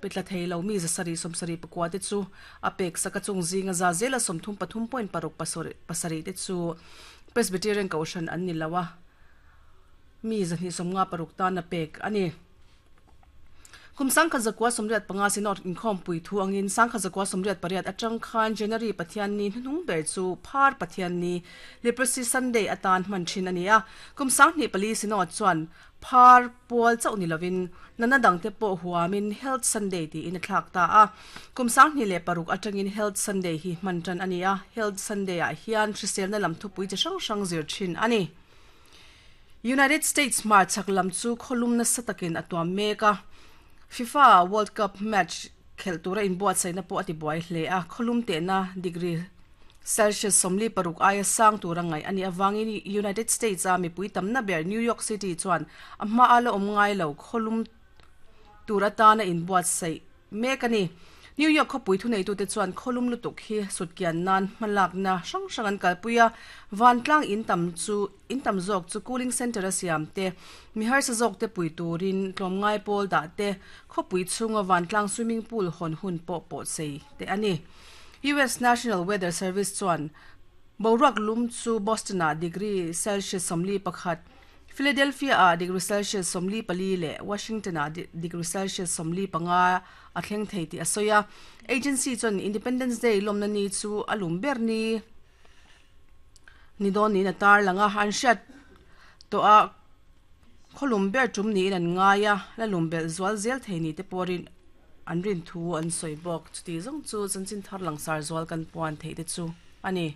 pe tla thei lo mi 700 74 te chu a pek sak a, chung zinga za zela 33.6 pasarih te chu Presbyterian Kohhran an ni lo a, mi 256 tan a pek a ni. Kum 1985 Synod inkhawmpui thu angin 1988 atang khan January Pathianni hnuhnung ber chu Phar Pathianni, Leprosy Sunday, atan hman thin a ni a. Kum 2004 Synod chuan Phar pual chauh ni lovin natna dangte pawh huamin Health Sunday tiin a thlak ta a. Kum 2006 atangin Health Sunday hi hman tan a ni a, Health Sunday-ah hian hriselna lam thupui chi hrang hrang zir thin a ni. United States hmarchhak lam chu khawlum nasa takin a tuam mek a, FIFA World Cup match khelh tura inbuatsaihna pawh a tibuai hle a, khawlum tehna degree Celsius 46 aia sang tura ngaih a nih avangin United States-a mipui tamna ber New York City chuan a hmaa la awm ngai lo khawlum tur atana inbuatsaih mek a ni. New York khawpui thuneitute chuan khawlum lutuk hi sutkian nan hmalakna hrang hrang an kalpui a, vantlang in tam chu in tam zawk chu cooling centre a siam te, mi harsa zawk te pui turin tlawmngai pawl dah te, khawpui chhunga vantlang swimming pool hawn hun pawh pawhsei te a ni. US National Weather Service chuan boruak lum chu Boston-ah degree Celsius 41, Philadelphia-ah degree Celsius 44 leh Washington-ah degree Celsius 45 a thleng thei tih a sawi a. Agency chuan Independence Day lawmna ni chu a lum ber ni ni dawn niin a tarlang a, an hriat tawh a khawlum ber tum niin an ngai a, la lum belh zual zel thei ni te pawh rin an rin thu an sawi bawk. Chuti zawng chu chanchin thar langsar zual kan puan theih te chu a ni.